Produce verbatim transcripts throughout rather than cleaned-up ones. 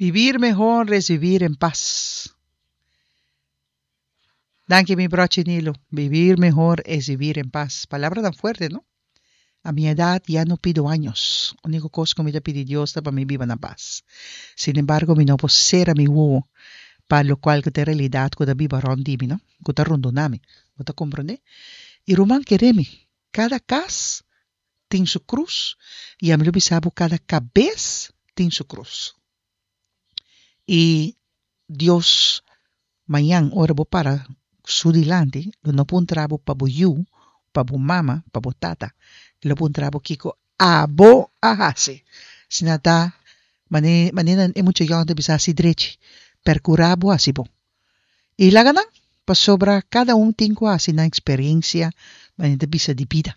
Vivir mejor es vivir en paz. Danki mi brochi Nilo. Vivir mejor es vivir en paz. Palabra tan fuerte, no? A mi edad ya no pido años. Úniko kos ku mi ta pidi Dios ta pa mi biba na pas. Sin embargo, mi no por sera mi wowo pa lokual ku ta e realidat ku ta biba rònt di mi, no? Ku ta rondoná mi. Bo ta komprondé? I ruman kere mi, kada kas tin su krus i ami lo bisa bo kada kabes tin su krus. I Dios mañan ora bo para su dilanti lo no puntra bo pa bo yu, pa bo mama, pa bo tata. E lo puntra bo kiko abo a hasi. Asina ta mane manera e mucha yòn ta bisa hasi drechi, perkurá bo hasi bon. I laga nan, pasobra kada un tin ku hasi nan eksperensia manera ta bisa di bida.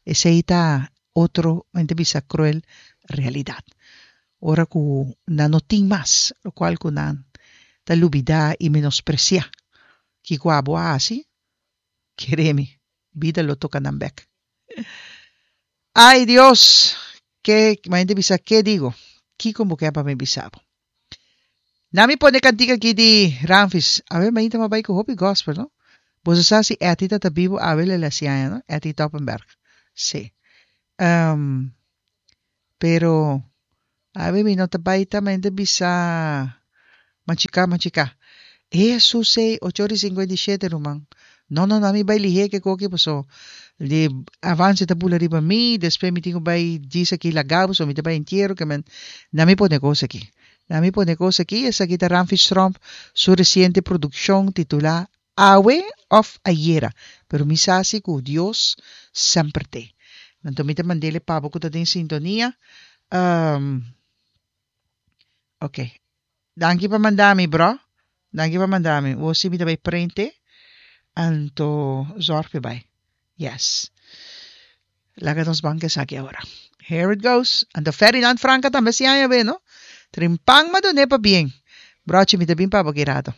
Esei ta otro manera ta bisa kruel realidat. Ora ku nan no tin mas lokual ku nan ta lubidá i menospresiá kiko abo a hasi, kere mi, bida lo toka nan bèk. Ai Dios! Ke, manera ta bisa, ke digo? Kiko bo ke pa mi bisa bo? Na mi pone kantika aki di Ramfis. Awe mainta m'a bai ku hopi gospel, no? Boso sa si Etty ta ta bibu awe lo el hasi aña, no? Etty Toppenberg. Sí. Um, pero awe mi no ta bai ta mainta bisa machiká machiká. Hesus ei, ocho ora i sinkuenta i shete ruman. No no no, mi bai lihé ke koki paso di avance ta bula riba mi, despues mi tin ku bai djis aki laga paso mi ta bai entiero ke men na mi pone kos aki. Na mi pone kos aki, esaki ta Ramfis Tromp su resiente produkshon titulá Awe òf Ayera, pero mi sa si ku Dios semper t'e. Anto mi ta mand'el e pa bo ku ta den sintonia. Um, ok. Danki pa manda mi, bro. Danki pa manda mi. Wo si mi ta bai prente. Anto zorg pe bai. Yes. Laga nos ban ku esaki awor. Here it goes. Anto Ferdinand Franca tambe si aña be, no? Trimpan ma done pa bien. Brochi, mi ta bin pa bo ki rato.